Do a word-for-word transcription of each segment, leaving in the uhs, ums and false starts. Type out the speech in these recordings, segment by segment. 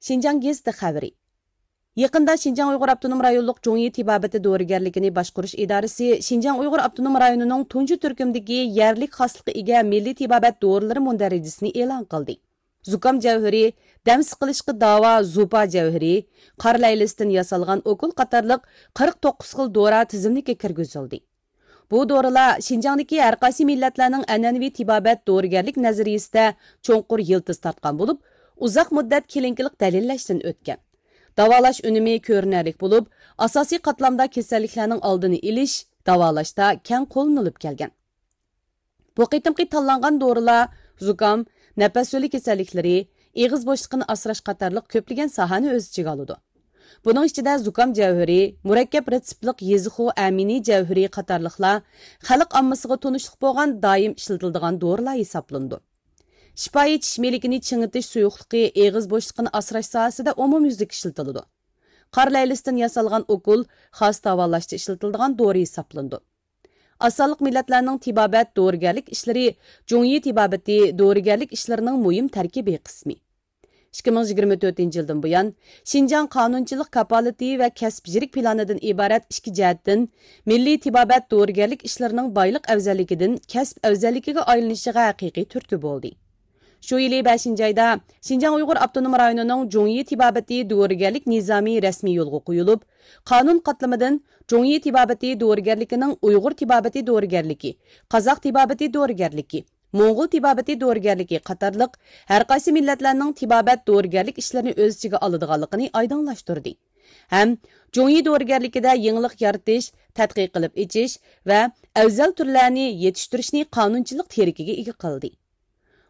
شىنجاڭ گېزىتى خەۋىرى. يېقىندا شىنجاڭ ئۇيغۇر ئاپتونوم رايونلۇق جۇڭيى تېبابىتى دورىگەرلىكىنى باشقۇرۇش ئىدارىسى شىنجاڭ ئۇيغۇر ئاپتونوم رايونىنىڭ تۇنجى تۈركۈمدىكى يەرلىك خاسلىققا ئىگە مىللىي تېبابەت دورىلىرى مۇندەرىجىسىنى ئېلان قىلدى. زۇكام جەۋھىرى، دەم سىقىلىشقا داۋا زۇپا جەۋھىرى، قارا لەيلىستىن ياسالغان ئوكۇل قاتارلىق قىرىق توققۇز خىل دورا تىزىملىككە كىرگۈزۈلدى. بۇ دورىلار شىنجاڭدىكى ھەرقايسى مىللەتلەرنىڭ ئەنئەنىۋى تېبابەت دورىگەرلىك نەزەرىيىسىدە چوڭقۇر يىلتىز تارتقان بولۇپ، ئۇزاق مۇددەت كلىنىكىلىق دەلىللەشتىن ئۆتكەن. داۋالاش ئۈنۈمى كۆرۈنەرلىك بولۇپ، ئاساسىي قاتلامدا كېسەللىكلەرنىڭ ئالدىنى ئېلىش، داۋالاشتا كەڭ قوللىنىلىپ كەلگەن. بۇ قېتىمقى تاللانغان دورىلار زۇكام، نەپەس يولى كېسەللىكلىرى، ئېغىز بوشلۇقىنى ئاسراش قاتارلىق كۆپلىگەن ساھەنى ئۆز ئىچىگە ئالىدۇ. بۇنىڭ ئىچىدە زۇكام جەۋھىرى، مۇرەككەپ رېتسېپلىق يېزىخۇ ئەمىنى جەۋھىرى قاتارلىقلار خەلق ئاممىسىغا تونۇشلۇق بولغان دائىم ئىشلىتىلىدىغان دورىلار ھېسابلىنىدۇ. شىپايى چىش مىلىكىنى چىڭىتىش سۇيۇقلۇقى، ئېغىز بوشلۇقىنى ئاسراش ساھەسىدە ئومۇميۈزلۈك ئىشلىتىلىدۇ. قارا لەيلىستىن ياسالغان ئوكۇل خاس داۋالاشتا ئىشلىتىلىدىغان دورا ھېسابلىنىدۇ. ئاز سانلىق مىللەتلەرنىڭ تېبابەت دورىگەرلىك ئىشلىرى جۇڭيى تېبابىتى دورىگەرلىك ئىشلىرىنىڭ مۇھىم تەركىبىي قىسمى. ئىككى مىڭ يىگىرمە تۆتىنچى يىلدىن بۇيان، شىنجاڭ قانۇنچىلىق كاپالىتى ۋە كەسىپ يىرىك پىلانىدىن ئىبارەت ئىككى جەھەتتىن مىللىي تېبابەت دورىگەرلىك ئىشلىرىنىڭ بايلىق ئەۋزەللىكىدىن كەسىپ ئەۋزەللىكىگە ئايلىنىشىغا ھەقىقىي تۈرتكە بولدى. شۇ يىلى بەشىنچى ئايدا شىنجاڭ ئۇيغۇر ئاپتونوم رايونىنىڭ جۇڭيى تېبابىتى دورىگەرلىك نىزامى رەسمىي يولغا قويۇلۇپ، قانۇن قاتلىمىدىن جۇڭيى تېبابىتى دورىگەرلىكىنىڭ ئۇيغۇر تېبابىتى دورىگەرلىكى، قازاق تېبابىتى دورىگەرلىكى، موڭغۇل تېبابىتى دورىگەرلىكى قاتارلىق ھەرقايسى مىللەتلەرنىڭ تېبابەت دورىگەرلىك ئىشلىرىنى ئۆز ئىچىگە ئالىدىغانلىقىنى ئايدىڭلاشتۇردى ھەم جۇڭيى دورىگەرلىكىدە يېڭىلىق يارىتىش، تەتقىق قىلىپ ئېچىش ۋە ئەۋزەل تۈرلەرنى يېتىشتۈرۈشنى قانۇنچىلىق تىرىكىگە ئىگە قىلدى.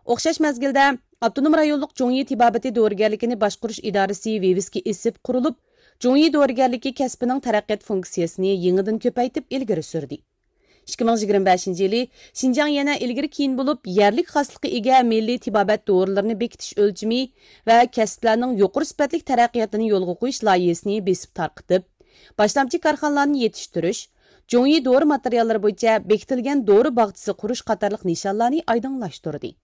ئوخشاش مەزگىلدە، ئاپتونوم رايونلۇق جۇڭيى تېبابىتى دورىگەرلىكىنى باشقۇرۇش ئىدارىسى ۋىۋىسكا ئېسىپ قۇرۇلۇپ، جۇڭيى دورىگەرلىكى كەسپىنىڭ تەرەققىيات فۇنكسىيەسىنى يېڭىدىن كۆپەيتىپ ئىلگىرى سۈردى. ئىككى مىڭ يىگىرمە بەشىنچى يىلى شىنجاڭ يەنە ئىلگىرى كېيىن بولۇپ، يەرلىك خاسلىققا ئىگە مىللىي تېبابەت دورىلىرىنى بېكىتىش ئۆلچىمى ۋە كەسىپلەرنىڭ يۇقىرى سۈپەتلىك تەرەققىياتىنى يولغا قويۇش لايىھىسىنى بېسىپ تارقىتىپ، باشلامچى كارخانىلارنى يېتىشتۈرۈش، جۇڭيى دورا ماتېرىياللىرى بويىچە بېكىتىلگەن دورا باغچىسى قۇرۇش قاتارلىق نىشانلارنى ئايدىڭلاشتۇردى.